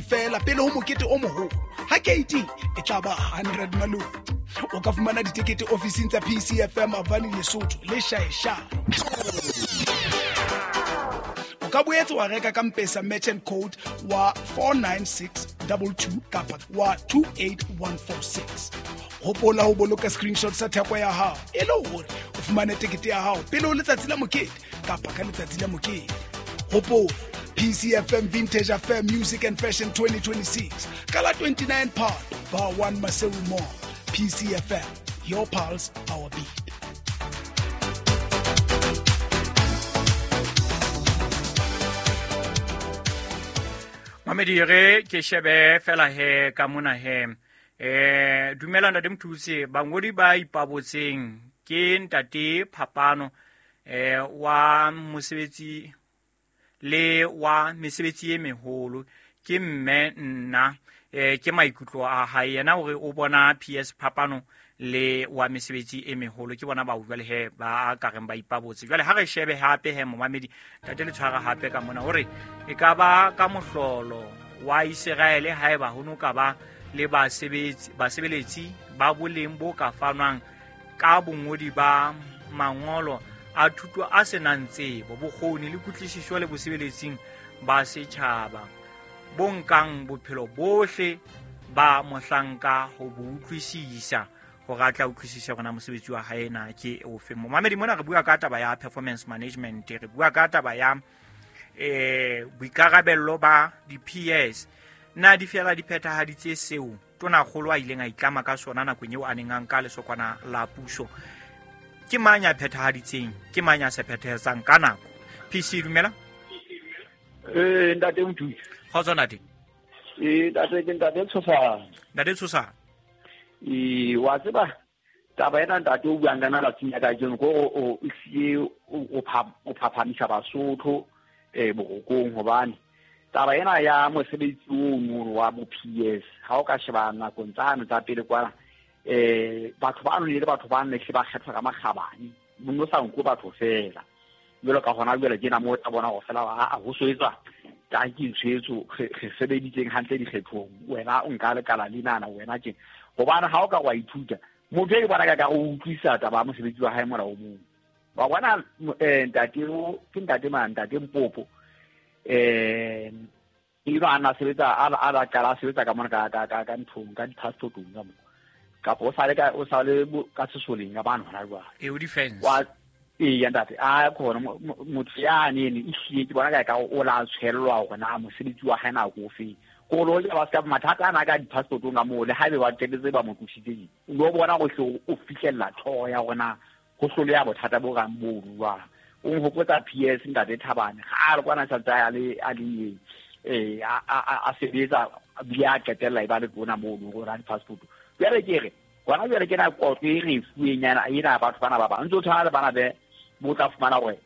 Feela pele ho mokete o moholo ha keiti e tla ba 100 malome. O ka fumana ditekete ofising tsa PCFM Avani Lesotho le Shaeshae. O ka boetse wa reka ka Mpesa merchant code wa 49622 kapa wa 28146. Hopola ho boloka screenshot sa theko ya hao e le hore o fumane tekete ya hao pele ho letsatsi la mokete kapa ka letsatsi la mokete. Hopola PCFM Vintage Affair Music and Fashion 2026 ka la 29 Phato, Bar 1 Maseru Mall. PCFM, your pulse, our beat. Mamedi, re ke shebe fela he ka mona he. Dumela ntate Mthuse, bangodi ba ipabotseng ke ntate Phapano wa mosebetsi le wa mesebetsi e meholo ke mme nna ke maikutlo a hae yena hore o bona PS Phapano le wa mesebetsi e meholo ke bona ba jwale he ba ka reng ba ipabotse. Jwale ha re shebe hape he momamedi ntate le tshwara hape ka mona hore e ka ba ka mohlolo wa Israele haeba ho no ka ba le basebeletsi ba boleng bo ka fanwang ka bongodi ba mangolo a thuto a senang tsebo, bokgoni le kutlwisiso le bosebeletsing ba setjhaba bo nkang bophelo bohle ba mohlanka ho bo utlwisisa hore a tla utlwisise hore na mosebetsi wa hae na ke ofe. Momamedi, mona re bua ka taba ya performance management, re bua ka taba ya boikarabello ba di-PS. Na di fela di phethahaditse seo tonakgolo a ileng a itlama ka sona nakong eo a neng a nka lesokwana la puso? Ke mang ya phethahaditseng, ke mang ya sa phethahetsang ka nako? PC, dumela. Ntate Mthuse. Kgotso ntate. Ntate, ke ntate Tshosana. Ntate Tshosana. Wa tseba taba ena ntate o buang ka nna tlatsing ya kajeno ko o sie o phaphamisa Basotho borokong, hobane taba ena ya mosebetsi ono wa bo PS ha o ka sheba nakong tsane tsa pele kwana batho ba le batho ba ne ba kgethwa ka makgabane, no sa nko batho fela. Jwalo ka hona jwale ke na mo tla bona go fela a ho soetsa ka ke ntshwetso re sebeditseng hantle dikgethong, wena o nka lekala lenana wena tje, hobane ha o ka wa ithuta motho e bona ka go utlwisa taba ya mosebetsi wa hae mola o mong. Wa bona ntate o ke ntate mang, ntate Mpopo eno a na sebetsa a la qala a sebetsa ka mona ka nthong ka di-passportong ka mo, kapa o sale ka o sale ka sesoleng ka bana hona jwale. E o defense. Wa ya ntate a khona motho ya nene e hlile ke bona ka o la tshwellwa hore na mosebetsi wa hae na ko fe. Ko lo ja ba ska mathata ana ka di-passportong ka moo, le haebe ba qetetse ba mo tlositse, o lo bona go hle o fihlella tlhoho ya rona ho hloleha bothata bo kang bo jwang. O nhopotsa PS ntate Thabane ga a re kwana sa tsaya le a le a sebetsa bile a qetella e ba le tona moo go ra di-passport. Jwale ke re gona jwale ke na kotlo e re fuweng yana ena batho bana ba bang ntse o tshwana le bana be bo tla fumana hore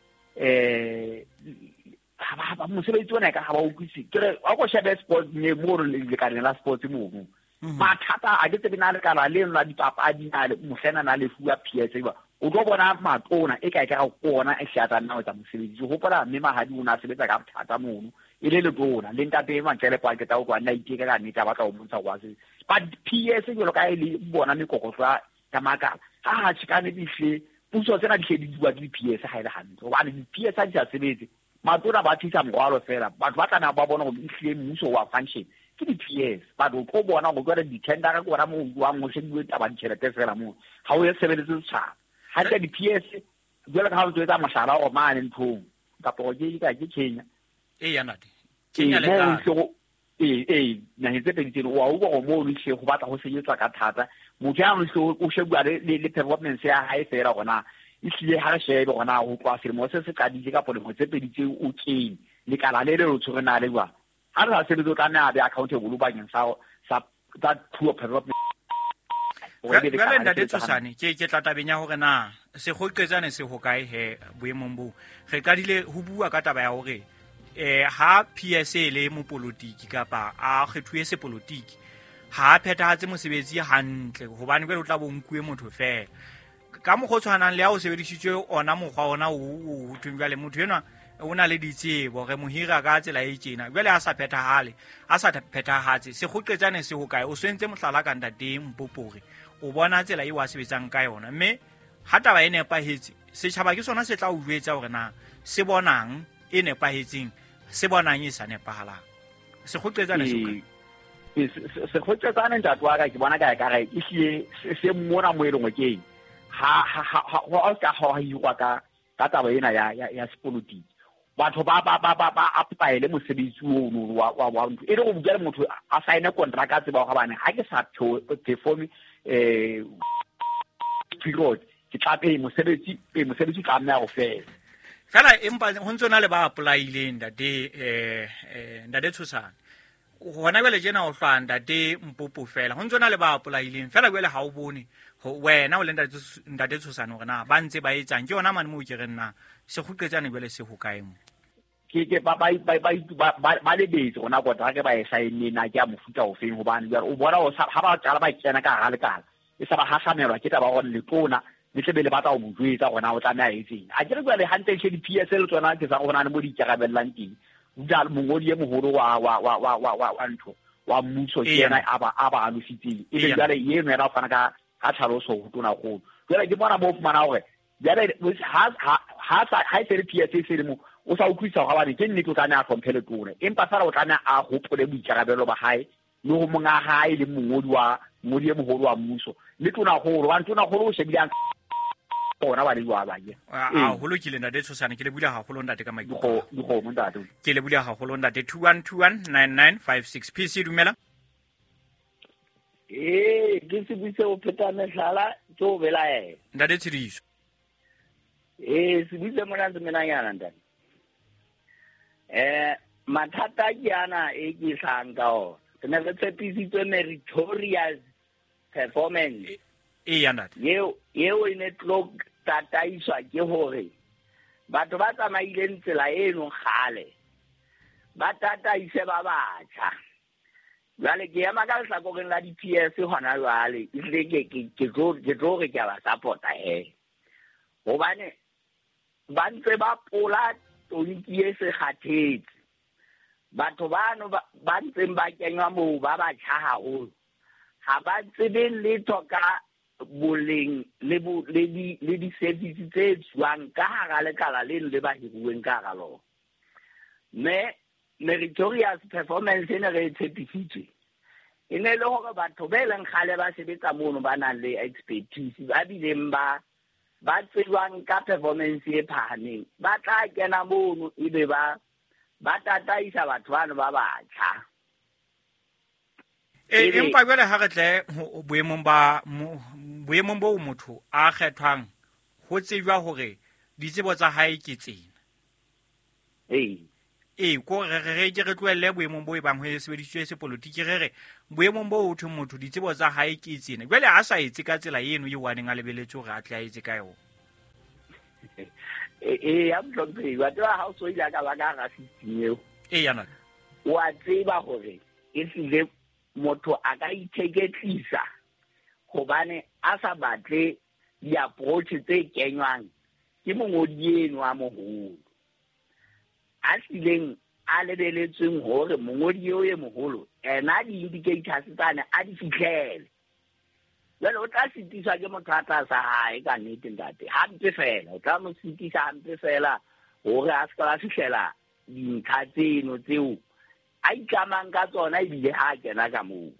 ba mosebetsi ona ka ha ba utlwise. Ke re wa ko shebe sports ne mo re lekaleng la sports mono mathata a ke tsebe na lekala le la dipapadi na le mohlena na le fuwa PS ba o tlo bona matona e kae ka go ona e hlatsa nna o tsa mosebetsi. Ke hopola mme Mahadi o na sebetsa ka bothata mono e le letona le ntate Mantsele kwa ke tla o kwa nna iteka ka nnete a batla ho bontsha kwa se but PS jwalo ka e le bona mekokotlo ya makala ha tjhe ka nnete hle puso tsena di hle di bua ke di-PS ha e le hantle, hobane di-PS ha di sa sebetse matona ba tlisa morwalo fela, batho ba tlameha ba bona hore ehlile mmuso wa function ke di-PS. But o tlo bona hore jwale di-tendera ke ona moo jwang ho shebuwe taba ditjhelete fela moo ha o ye sebeletse setjhaba hantle. Di-PS jwalo ka ha o ntso etsa mohlala hore mane nthong kapa ke ka ke Kenya E ya ntate, Kenya le Ghana. Ee, naheng tse pedi tseno wa utlwa hore moo ehlile ho batla ho sebetswa ka thata. Motho ya ehlile o shebuwa le performance ya hae fela hore na ehlile ha re shebe hore na ho tloha selemo se se qadile kapa dilemo tse pedi tseo o kene lekala le le o tshwere na le jwang. Ha re sa sebetse o tlameha a be accountable bakeng sa tsa poor performance. Jwale ntate Tshosane, ke tla tabeng ya hore na sekgoqetsane se hokae he boemong boo. Re qadile ho bua ka taba ya hore ha PS e le mopolotiki kapa a kgethuwe sepolotiki ha a phethahatse mosebetsi hantle, hobane jwale o tla bo nkuwe motho fela ka mokgwa o tshwanang le ha o sebedisitswe ona mokgwa ona o thweng jwale motho enwa O na le ditsebo re mohira ka tsela e tjena jwale a sa phethahale a sa phethahatse sekgoqetsane se ho kae o swentse mohlala ka ntate Mpopore o bona tsela eo a sebetsang ka yona mme ha taba e nepahetse setjhaba ke sona se tla o jwetsa hore na se bonang e nepahetseng se bonang e sa nepahalang sekgoqetsane se ho kae sekgoqetsane ntate wa ka ke bona ka ka re ehlile se mona mo e leng ke ha ha ha ka ha hirwa ka ka taba ena ya sepolotiki batho ba apply-ele mosebetsi ono wa ntho e le go bua le motho a sign contract a tseba go bane ha ke sa perform period ke tla pay mosebetsi tla nna go fela fela empa ho ntse na le ba apply-ileng ntate ntate Tshosane hona jwale tjena o hlwa ntate Mpopo fela ho ntse na le ba apply-ileng fela jwale ha o bone wena o le ntate Tshosane hore na ba ntse ba etsang ke yona mane moo ke re nna sekgoqetsane jwale se ho kae mo ke ba lebetse rona kontraka ba e saenne na ke a mofuta ofeng hobane jwale o bona ha ba qala ba kena ka hara lekala e sa ba hahlamelwa ke taba hore letona le tle be le batla ho mo jwetsa hore na o tlameha etseng a ke re jwale hantle tjhe di-PS le tsona ke sa go bona le mo di ikarabellang teng jalo mongodi e moholo wa ntho wa mmuso ke yena a ba alositseng ebe jwale eno yena o fana ka tlhaloso ho tonakgolo jwale ke bona mo fumana hore jwale ha e se le PS e se le mo o sa utlwisisa hore hobane ke nnete o tlameha a hlomphe letona empa fela o tlameha a hopole boikarabelo ba hae le ho monga hae le mongodi e moholo wa mmuso le tonakgolo hobane tonakgolo o shebile ona ba le jwa ba ke a holo ke le ntate Tshosane ke le bula haholo ntate ka maikutlo dikgomo ntate ke le bula haholo ntate 21219956 PC dumela ke se buise o pheta mehlala ke o belaela ntate Tshidiso se buise mona ntse menanyana ntate mathata ke ana e ke hlahang ka ona re ne re tshepisitswe meritorious performance eya ntate eo e ne tlo tataiswa ke hore batho ba tsamaileng tsela eno kgale ba tataise ba batjha jwale ke ema ka lehlakoreng la di-PS hona jwale ehlile ke tlo re ke a ba support-a he hobane ba ntse ba pola tonki e se kgathetse batho bano ba ntseng ba kenywa moo ba batjha haholo ha ba tsebe letho ka boleng le di-service tse tswang ka hara lekala leno le ba hiruweng ka hara lona mme meritorious performance e ne re e tshepisitswe e ne le hore batho be leng kgale ba sebetsa mono ba nang le expertise ba bileng ba tsebang ka performance e phahameng ba tla kena mono ebe ba tataisa batho bano ba batjha. Empa jwale ha re tle boemong bo motho a kgethwang ho tsejwa hore ditsebo tsa hae ke tsena. Ko re ke re tlohelle boemong bo e bang ho sebedisitswe sepolotiki re re boemong bo ho thwe motho ditsebo tsa hae ke tsena jwale a sa etse ka tsela eno eo a neng a lebeletse hore a tle a etse ka yona. Ya mohlomphehi wa tseba ha o so ile ka ba ka hara system eo eya ntate wa tseba hore e hlile motho a ka itheketlisa hobane a sa batle di-approach tse kenywang ke mongodi eno a moholo a hlileng a lebeletsweng hore mongodi eo e moholo ena di-indicators tsane a di fihlele jwale o tla sitiswa ke motho a tlasa hae ka nnete ntate hampe fela o tla mo sitisa hampe fela hore a se ka ba fihlela dintlha tseno tseo a itlamang ka tsona ebile ha a kena ka moo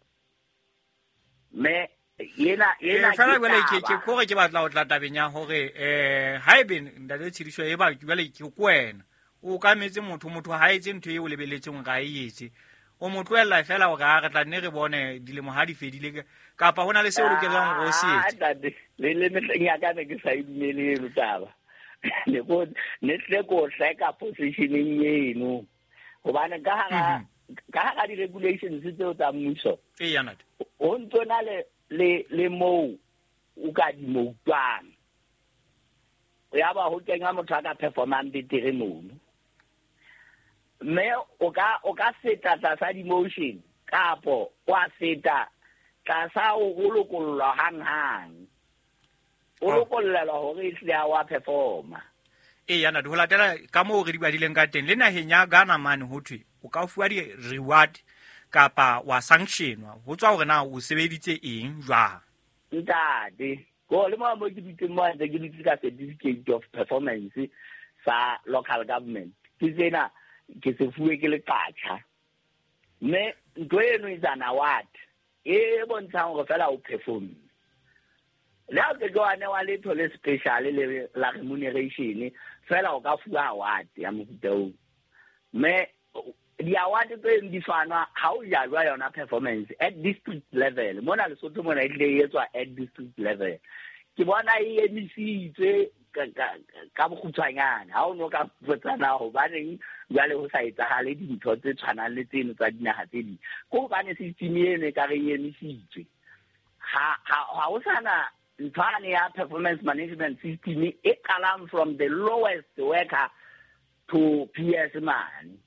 mme yena fela jwale ke kore ke batla ho tla tabeng ya hore haebe ntate Tshidiso e ba jwale ke kwena o ka metse motho ha etse ntho eo lebeletseng ga e etse o mo tlohella fela hore a re tla nne re bone dilemo ha di fedile kapa hona le seo lokelang hore o se etse ntate le mehleng ya ka ne ke sa e dumele eno taba ne tle ko hleka positioneng eno hobane ka hara di-regulations tseo tsa mmuso eya ntate ho ntso na le moo o ka di moutwang ya ba ho kenya motho a ka performang betere mono mme o ka feta tlasa di-motion kapo wa feta tlasa o lokollwa hanghang o lokollelwa hore ehlile ha wa performa. E yana di ho latela ka moo re di badileng ka teng le naheng ya Ghana mane ho thwe o ka fuwa di-reward kapa wa sanctionwa ho tswa hore na o sebeditse eng jwang. Ntate, ko le mo ke dutseng mo ntse ke dutse ka certificate of performance sa local government. Ke tsena ke se fuwe ke leqatjha. Mme ntho eno is an award e bontshang hore fela o perform. Le ha o ke wa newa letho le special le la remuneration fela o ka fuwa award ya mofuta oo. Mme di-award tse di fanwa ha o jalwa yona performance at district level. Mona Lesotho mona e tlile e etswa at district level. Ke bona e emisitswe ka bokgutshwanyane. Ha o no ka botsana hobaneng jwale ho sa etsahale dintho tse tshwanang le tseno tsa dinaha tse ding. Ke hobane system eno e ka re e emisitswe. Ha ho sana nthwane ya performance management system e qalang from the lowest worker to PS man.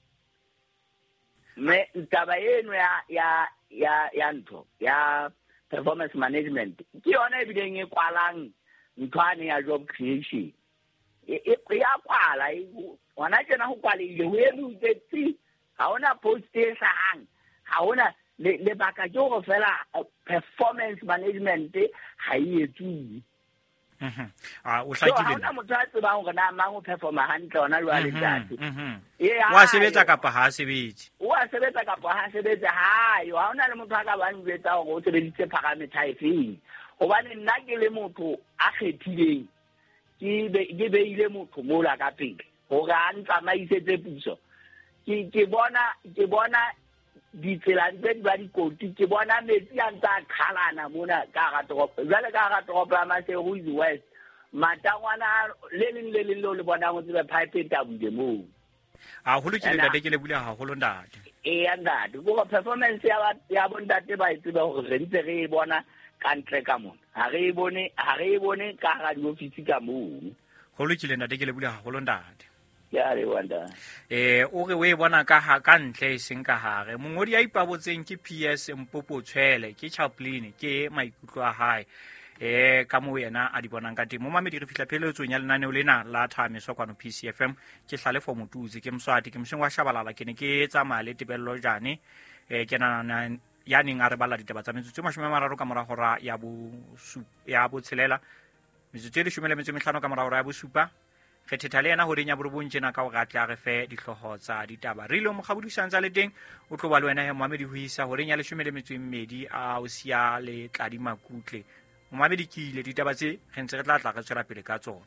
Me taba eno ya ntho ya performance management ke yona e bileng e kwalang nthwane ya job creation. E ya kwala hona tjena ho kwalehile ho eme tsi ha hona post e hlahang, ha hona lebaka ke hore fela performance management ha e etsuwe. O hlakile. Ha hona motho a tsebang hore na mang o performa hantle hona jwale ntate. Wa sebetsa kapa ha sebetse. Wa sebetsa kapa ha sebetse ha yo. Ha hona le motho a ka bang jwetsa hore o sebeditse parameter efeng. Hobane nna ke le motho a kgethileng ke beile motho mola ka pele hore a ntsamaisetse puso. Ke bona ditsela tse di ba dikoti, ke bona metsi a ntse a qhalana mona ka hara toropo. Jwale ka hara toropo ya Maseru is West, matangwana le leng le leng leo le bonang o tsebe pipe e tabuile moo. Haholo ke ntate, ke lebohile haholo ntate. Eya ntate, ke performance ya bontate ba e tsebe hore re ntse re e bona ka ntle ka mona. Ha re e bone ka hara diofisi ka moo. Ho lokile ntate, ke lebohile haholo ntate. Ya re wanda. O re o e bona ka ka ntle e seng ka hare. Mongodi ya ipabotseng ke PS Mpopo Tshwele, ke Chaplin, ke maikutlo a hae. Ka moo yena a di bonang ka teng. Momamedi re fihla pheletsong ya lenaneo lena la Thameso kwano PCFM. Ke Hlalefo Motutsi, ke Mswati, ke Moseng wa Shabalala, ke ne ke tsamaya le Tebello Jane. Ke nana ya neng a re balla ditaba tsa metsotso 30 ka mora hora ya bo tshelela, metsotso e 15 ka mora hora ya bosupa. Re thetha le yena horeng ya borobong tjena ka hore a tle a re fe dihlooho tsa ditaba. Re ile mokgabodisang tsa le teng o tlo ba le wena he Mohamedi ho isa horeng ya 12 a o siya le Tladi Makutle. Mohamedi ke ile ditaba tse re ntse re tla tla re tswela pele ka tsona.